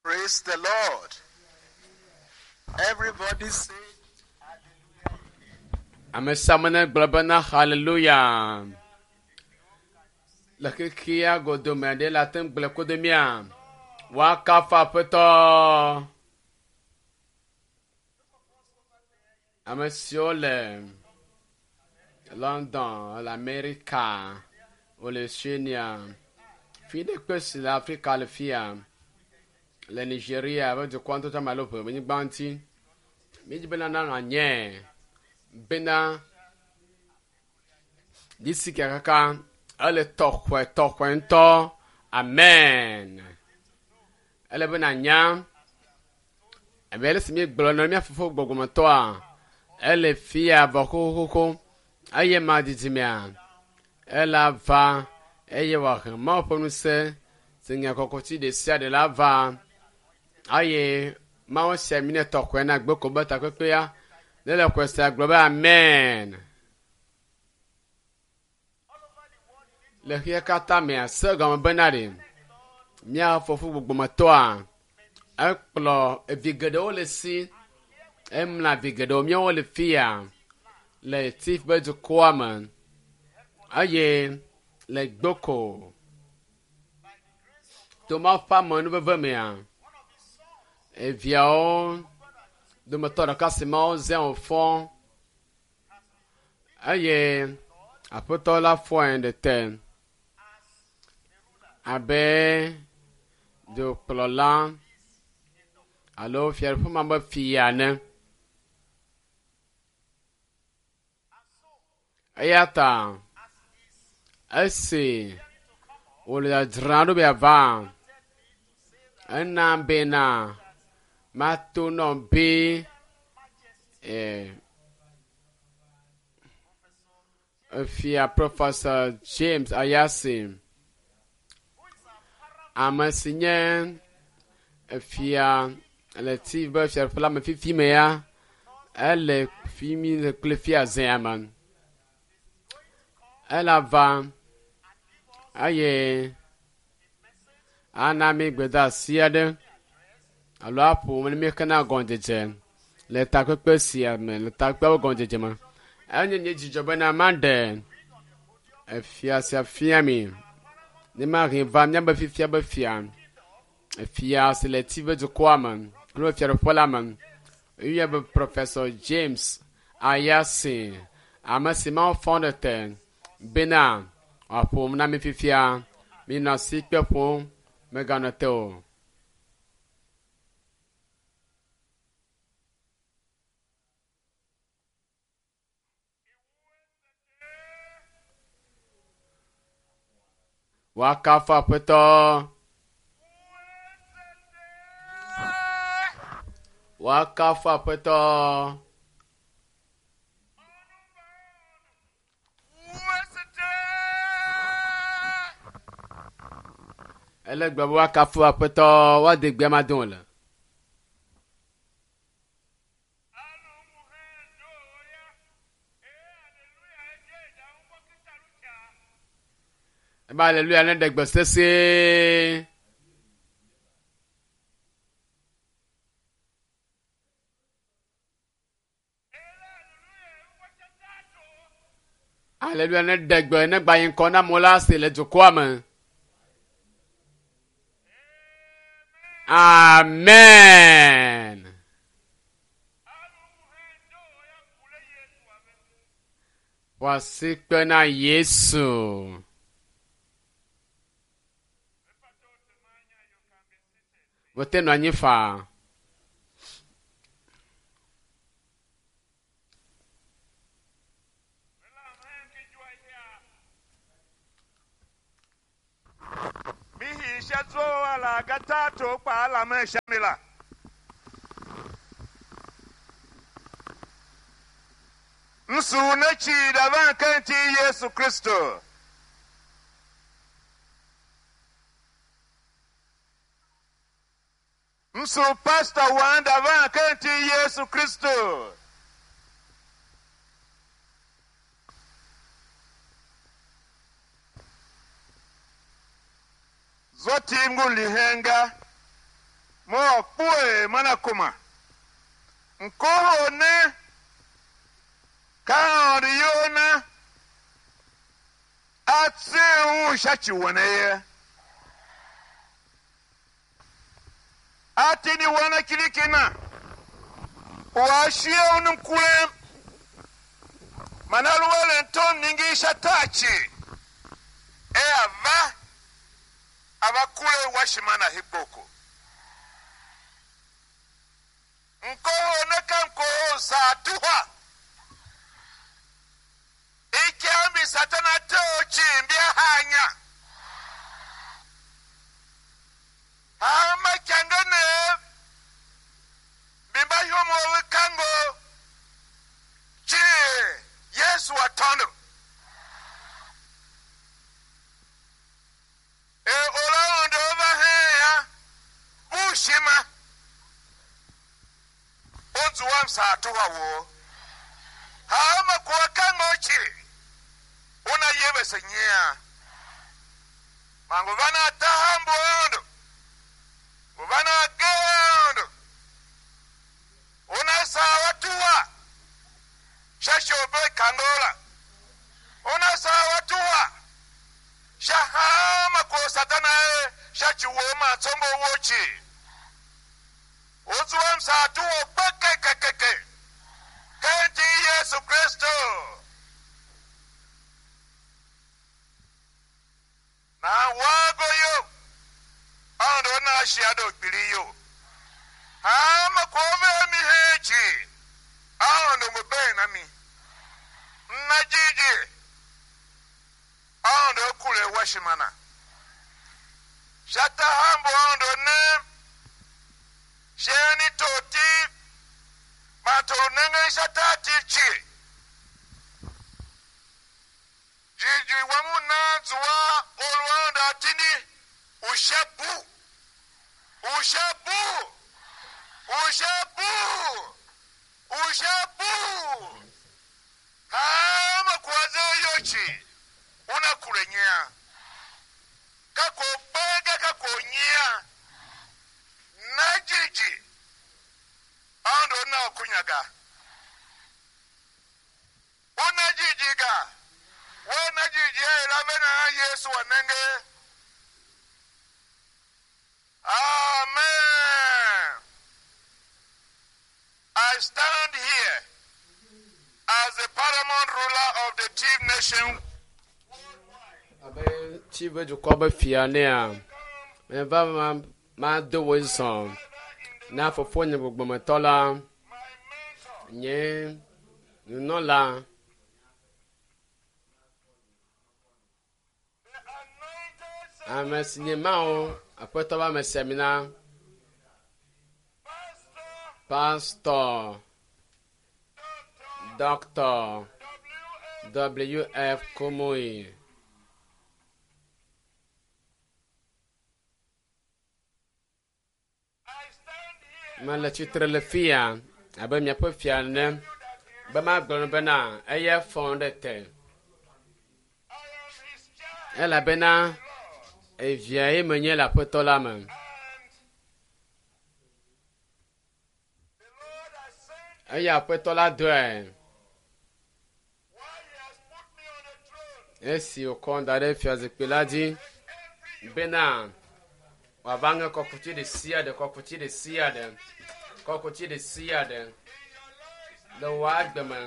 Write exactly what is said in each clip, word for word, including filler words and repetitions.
Praise the Lord. Everybody say Ame sia ame negblɔ bena hallelujah. Le xexea godome ɖe le ate ŋu gblɔe kodo mía. Woakafu aƒetɔ. Ame siwo le London, le Amerika, wole Australia, fi ɖe kpe si le Afrika le fia, le Nigeria be dukɔ ŋutɔ tsã alo ʋe nyigba ŋuti. Míedzi bena nanɔ anyi bena disiki kaka ele tɔxɔe tɔxɔe ŋutɔ. Amen. Ele bena nya abe ale si míegblɔ na mía fofo gbɔgbɔmetɔa ele fia vɔ xoxoxo eye ma didimea ela va eye wòahe Mawu ƒe ŋusẽ si nye kɔkɔti ɖe sia ɖe la va eye Mawu sia mi ne tɔxɔe na gbeko be takpekpea ne le xɔe sia gblɔ be amen. Le xexea katã mea se gɔme bena ɖe mía fofo gbɔgbɔmetɔa ekplɔ evi geɖewo le si emla vi geɖewo míawo le fia le Tif be dukɔa me eye le gboko to Mawu ƒe amenuveve mea eviawo dometɔ ɖeka si Mawu zã wòfɔ eye aƒetɔ la fɔe ɖe te abe dukplɔla alo fiaɖuƒe ma be fia ene. Eya ta esi wòle dzadzram ɖo be yeava, ena bena mato nɔ be eh, efia Professor James Ayasi, ame si nye efia le Tiv be fiaɖuƒe la me fifi me ya, ele fi mi le kple fia zea me. Ela va eye ana mi gbedeasi aɖe alo aƒo ne míexena gɔmedzedze le takpekpe sia me le takpekpeawo gɔmedzedze me. Enye nye dzidzɔ bena maɖe efia sia fia mi ne mahe va míabe fifia be fia efia si le Tiv be dukɔa me kple fiaɖuƒe la me. Eyɔe be Professor James Ayasi, ame si Mawu fɔ ɖe te bena wòaƒo na mi fifia. Minɔ asikpe ƒom, meganɔ te o. Woakafu aƒetɔ. Woakafu aƒetɔ. Ele gblɔ be woakafu aƒetɔ, woade gbe ma dom le. Ebe aleluya ne ɖe gbe sesĩe. Aleluya ne ɖe gbe ne gba yi ŋkɔ na amewo la se le dukɔa me. Amen. Ƒo asikpe na Yesu. Wote nɔ anyi faa. Mihi ala gatatu pa ala me shamila. Nsu nechi davan kenti Yesu Kristo. Nsu pastor wan davan kenti Yesu Kristo. Zoti nguli henga. Mo kpue mana kuma. Nkoho ne kaori yona atse un shachi wane ye. Atini wana kilikina. Washie unumkule manaluwele nton ningisha tachi. E ava abakule washimana hiboko. Nkoho neka nkoho satuha. Ikiambi satana tochi mbia hanya. Hama kyangene bimba yomo kango chi Yesu watondo. E olaondo ovaheya bushima. Onzu wa msatuha wo. Hama kwa kango chi. Una yebe senyea. Mangu vana tahambu ondo. Vana gendo. Una sawa tuwa. Shashobe kangola. Una sawa tuwa. Shahama kwa satana e. Shachiwoma tsombo wochi. Uzuwa msatuwa peke kekeke. Kenti Yesu Kristo. Na wago yo. Ando na shiado kpiri yo. Hama kome mi hechi. Ando mbe na mi. Na jiji. Ando kule washimana. Shata hambo ando ne. Sheni toti. Matoro nenge shata tichi. Jiji wamu nanzuwa olwanda tini. Ushabu. Ushabu. Ushabu. Ushabu. Hama kwaze yochi. Unakulenyea. Kako bega kako nyea. Na jiji. Ando na kunyaga. Una jijiga. Wana jiji ya ilamena Yesu wanenge. Amen. I stand here as the paramount ruler of the Tiv nation. Abe Tiv dukɔ be fia nea, meva ma mado wo zɔ na fofonye gbɔgbɔmetɔ la, nye nunɔla, ame si nye Mawu aƒetɔ be ame siamina, Pastor Doctor W F Kumuyi. Mele tsitre le fia abe miaƒe fia ene be magblɔ bena eya fɔ ɖe te elabena evia ye menye le aƒetɔ la me. Eya aƒetɔ la dɔe esi wòkɔ da ɖe fiazikpui la dzi bena wòava ŋe kɔkuti ɖe sia ɖe kɔkuti ɖe sia ɖe kɔkuti ɖe sia ɖe le wò agbe me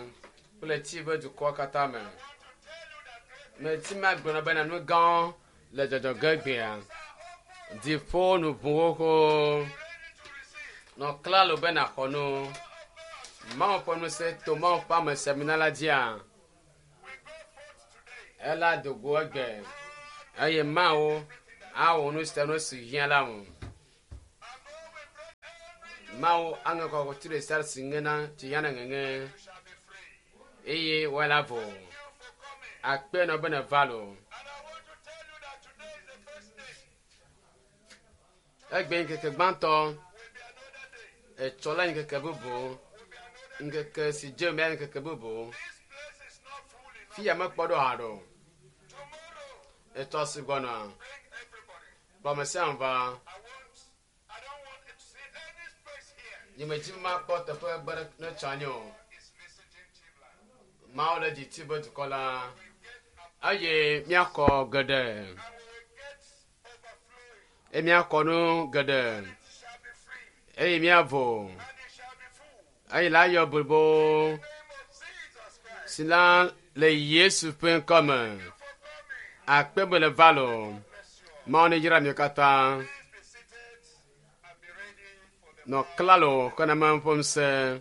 kple Tiv be dukɔ katã me. Meti magblɔ bena nu gãwo le dzɔdzɔ ge gbea. Dziƒo nu ʋu xoxo. Nɔ klalo be nàxɔ nu. Mawu ƒe ŋusẽ to Mawu ƒe ame siamina la dzia. Ela do go egbe eye Mawu awɔ nu sia nu si hiã la ŋu. Mawu aŋe kɔkuti ɖe sia ɖe si ŋena tsi hiã na ŋeŋe eye woala vo. Akpe nɔ be neva lo. Egbe ŋkeke gbãtɔ, etsɔ la ŋkeke bubu, ŋkeke si dze mea ŋkeke bubu. Fia mekpɔ ɖo haɖe o. Etsɔ si gbɔna, kplɔ ame sia ame va. Nyemedzi be makpɔ teƒe gbe ɖe ne tsɔ anyi o. Is visiting Tivland. Mawu le dzi ti be dukɔ la We get up eye míakɔ geɖe and we will get overflowing. eye míakɔ nu geɖe It shall be free eye míavo and it shall be full. eye la yɔ blibo In the name of Jesus Christ. si la le Yesu ƒe ŋkɔ me. For coming. Akpe be le va lo. Bless you all. Mawu ne yra mi katã. Please be seated and be ready for the Nɔ klalo kena me ƒe ŋusẽ.